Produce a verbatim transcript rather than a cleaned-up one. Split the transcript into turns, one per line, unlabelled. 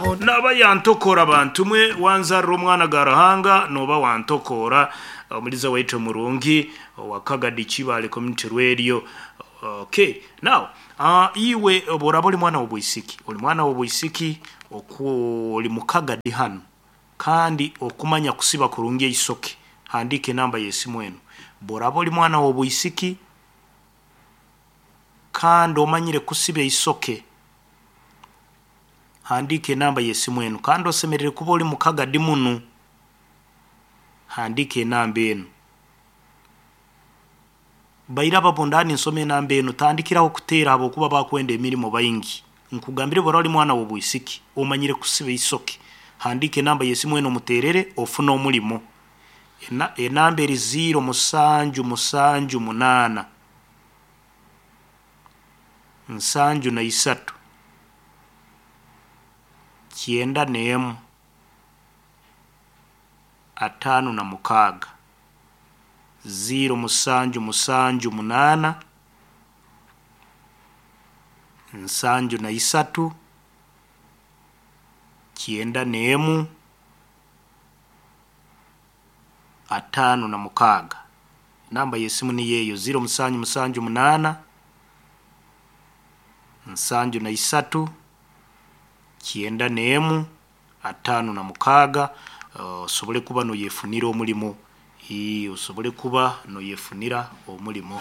Naba yantokora bantu mwe wanzarira omwana ga Ruhanga noba wantokora omuliza waitu murungi wa Kagadi Kibale Community Radio. Okay, now uh, iwe boraba oli mwana w'obwisiki, oli mwana w'obwisiki oku oli mukagadi hano kandi okumanya kusiba kurungi eisoke, handika enamba y'esimu eno. Boraba oli mwana w'obwisiki kandi omanyire kusiba eisoke, handika enamba y'esimu eno. Kandi osemerere kuba oli mukagadi munu, handika enamba eno. Baira babondani nsome enamba eno, tandikiraho kuteera habwokuba bakwenda emirimo baingi. Nkugambire bora oli mwana w'obwisiki omanyire kusiba eisoke, handika enamba y'esimu eno omuterere ofune omulimo. Ena, enamba eri ziro musanju musanju munaana nsanju na isatu kyenda n'emu ataano na mukaaga. Ziro musanju musanju munaana nsanju na isatu kyenda n'emu ataano na mukaaga. Namba y'esimu niyo eyo, ziro musanju musanju munaana nsanju na isatu kyenda n'emu ataano na mukaaga. Osobole kuba noyefunira omulimo, osobole kuba noyefunira omulimo.